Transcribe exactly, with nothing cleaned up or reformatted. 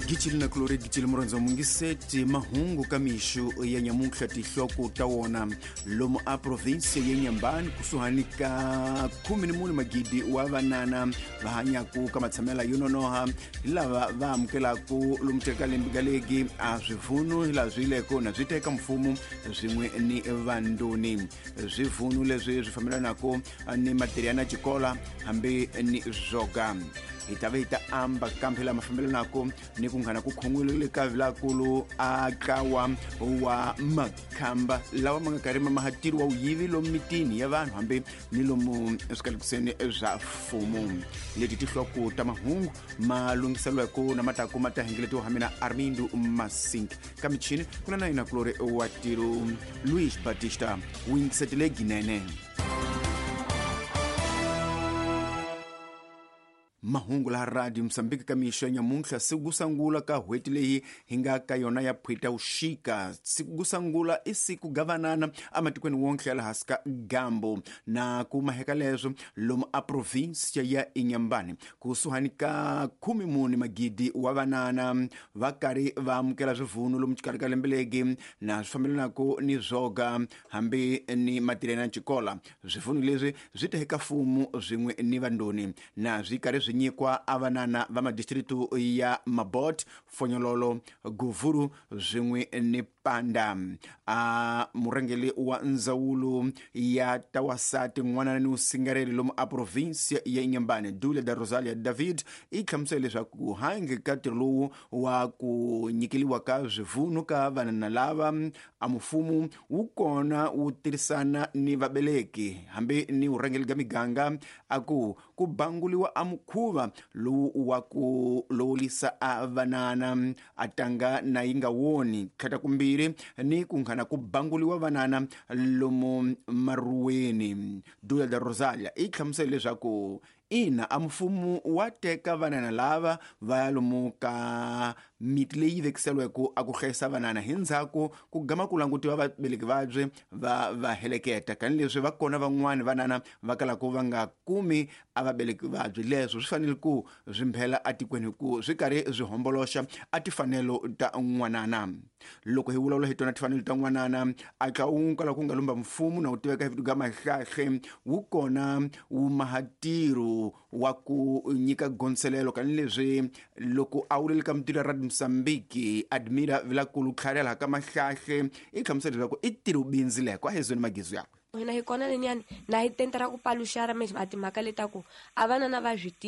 Gicili na kulori gicili murondzo mungiseti mahungu ka mixo ya nyamuntlha tihloko ta wona lomu a provinsia ya Inhambane kusuhani ka khume ni mune magidi wa vanana va hanyaku ka matshamela yo nonoha hi lava va amukelaku lomu teka lembigalegi a swivunu hi laha swi yileko na swi teka mfumo swin'we ni vandoni swivunu leswi swi fambelanaka ni materiana xikola hambi ni zwoga hi ta va hi ta amba kambe lama fambelanaka ni ku nghana ku khongwile ka vilakulu a tlawa wa makhamba lawa ma nga karhi ma mahatiri wa wuyivi lomu mitini ya vanhu hambi ni lomu swikalekuseni swa mfumo leti tihloko ta mahungu ma lunghiseriweke na mataku ma ta hengeletiwa ha mina Armindo Masink ka michini ku na na yina kulori wa tiro Luis Batista wingisetile ginene. Mahungu laha Radio Mozambique ka mixo ya nyamuntlha siku ku sungula ka hweti leyi hi nga ka yona ya phwita uxika siku ku sungula i siku gavanana ematikweni wonke ya laha hansi ka gambo na ku maheka leswo lomu a provinsia ya Inhambane kusuhani ka khume mune magidi wa vanana va karhi va amukela swivunu lomu xikarhi ka lembe legi na swi fambelanaka ni zwoga hambi ni matirhelo ya xikola swivunu leswi swi ta eka mfumo swin'we ni vandoni na swi karhi swi nyikwa a vanana va madistritu ya Mabot, Fonyololo, Guvuru swin'we ni Panda. A murhangeri wa ndzawulo ya tawasati n'wana ni usingareli lomu a provinsia ya Inhambane Dule da Rosalia David i hlamusele leswaku hange ka ntirho lowu wa ku nyikeliwa ka swivunu ka vanana lava a mfumo wu kona wu tirhisana ni vabeleki hambi ni vurhangeri bya miganga a ku ku banguliwa a mukhuva lowu wa ku lowulisa a vanana a tanga na yi nga woni tlhata kumbirhi ni ku nghana ku banguliwa vanana lomu maruweni. Dula da Rosalia i hlamusele leswaku ina a mfumo wa teka vanana lava va ya lomu ka miti leyi vekiseliweke a ku hlayisa vanana hi ndzhaku ku gama ku langutiwa vabeleki vabye va va heleketa tanihileswi va kona van'wani vanana va kalaka va nga kumi a vabeleki vabye leswo swi fanele ku swi mphela atikweni hi ku swi karhi swi homboloxa a tifanelo ta n'wanana. Loko hi vulavula hi tona tifanelo ta n'wanana a tla wu kala ku nga lumba mfumo na wu tiveka hi vito ga Mahlahle wu kona wu mahatiro wa ku nyika gonselelo kanileswi loko a wulele ka mitirho ya Radio Mozambique Admira Vilakulu tlharela ka Mahlahle i hlamusela leswaku i tirho bindzileko a hezweni magizu yakwe hina hi kona lenyani na hi tenta ra ku paluxara mesmo a timhaka letaku a vanana va swi